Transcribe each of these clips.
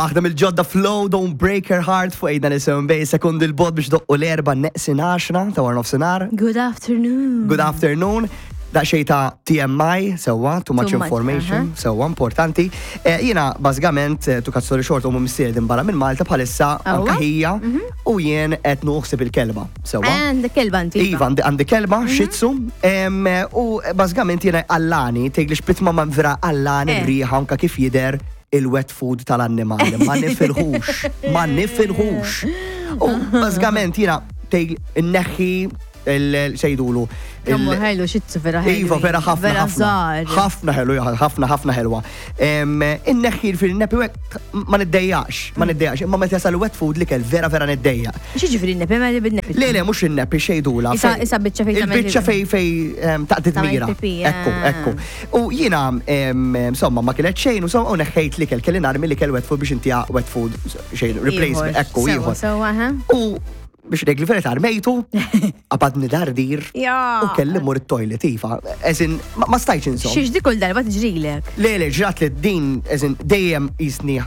Aħdem il-ġodda Flow, Don't Break Her Heart fuq ejda nisim bej sekundi l-bot biex doqqu l-erba neqsin għaxra ta' war nofsinhar. Good afternoon. Good afternoon. Daqsxejn ta' TMI, sewwa, too much Too much, information, sewwa, importanti. Eh, Jiena, bażikament, eh, to cut story short, u missier din barra minn Malta bħalissa Awwa. anka ħija u jien qed nuħsib il-kelba, sewwa. Għandek kelba inti. Iva, għandi għandi kelba, Shih Tzu, em, u bażikament jiena għallani, tgħidli xbitma ma vera għallani Eh. riħa anka kif jidher il-wet food tal-annimali. Ma nifilħux, ma nifilħux. U bażikament jiena tgħid inneħħi il-sejdulu. Kemm ħelu xitzu vera ħelu. Iva, vera ħafna. Vera ħafna. żgħar. Ħafna ħelu, ja, ħafna, ħafna ħelwa. Em, Inneħħi fil-nepi u hekk ma niddejjax, ma niddejjax. Imma meta jasal wet food li kell vera vera niddejjaq. Xi ġifieri nepi ma li bin-nepi. Le, le, mhux in-nepi xejdula. Isa- isa biċċa fejn tagħmel Il-biċċa fej fej em, taqdid Tagħmel mira. pipi, Ekku, ah. ekku. U jiena, em, insomma, ma kienet xejn, u insomma, u neħħejt li kell, kelli narmi li kell wet food biex intija wet food xejn, replacement, ekku, Sewwa, ieħor. Sewwa, ha? U biex ngħid li verità armejtu, qabadni dardir. Ja. U kelli mur it-toilet, iva. Eżin, ma ma stajtx insomma. Xiex di kull darba tiġrilek. Le, le, ġrat li din, eżin, dejjem jisni,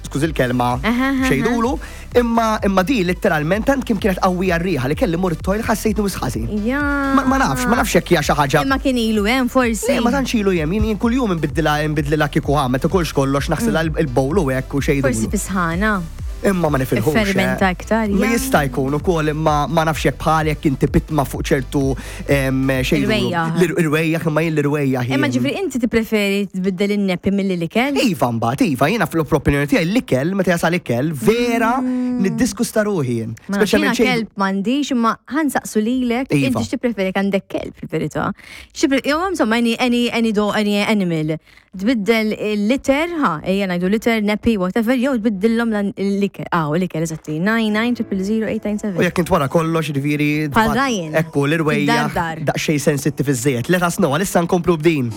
skuż il-kelma, Aha, aha. xejdulu, imma imma di letteralment tant kim kienet qawwija r-riħa li kelli mur it-toilet ħassejtni wisħażin. Ja. Ma ma nafx, ma nafx jekk hija xi ħaġa. Imma kien ilu hemm forsi. Le, ma tantx ilu jem, jien jien kuljum nbiddilha nbiddlilha kieku ha, meta kolx kollox naħsilha il-bowl u hekk u xejdulu. Forsi fisħana. Imma ma nifilħux. Fermenta eh. iktar, Ma ja. jista' jkun ukoll imma ma nafx jekk bħal jekk inti pitma fuq ċertu em, xejn. Irwejjaħ. L-irwejjaħ imma jien l-irwejjaħ. Imma jien- ġifri inti tippreferi tbiddel in-nepi milli l-ikel? Iva mbagħad, iva, jiena fl-opinjoni tiegħi l-ikel, meta jasal ikel, vera niddiskusta ruħi jien. Mm. Ma nafx, jiena Speċjalment xejn. kelb m'għandix imma ħansaqsu lilek, Iva. inti x'tippreferi jekk għandek kelb fil-verità. X'tipre- Jew insomma any any any do any animal. Tbiddel il-liter, ha, ejja ngħidu liter, nappy, whatever, jew tbiddilhom lan- l-ikel. Ah, l-ikel eżatti. 9900897. U jekk int wara kollox, ġifieri. Bħal Ryan. Ekku, l-irwejjaħ Id-dar dar. daqsxejn sensittiv iżżejjed. Let us know, għalissa nkomplu b'din.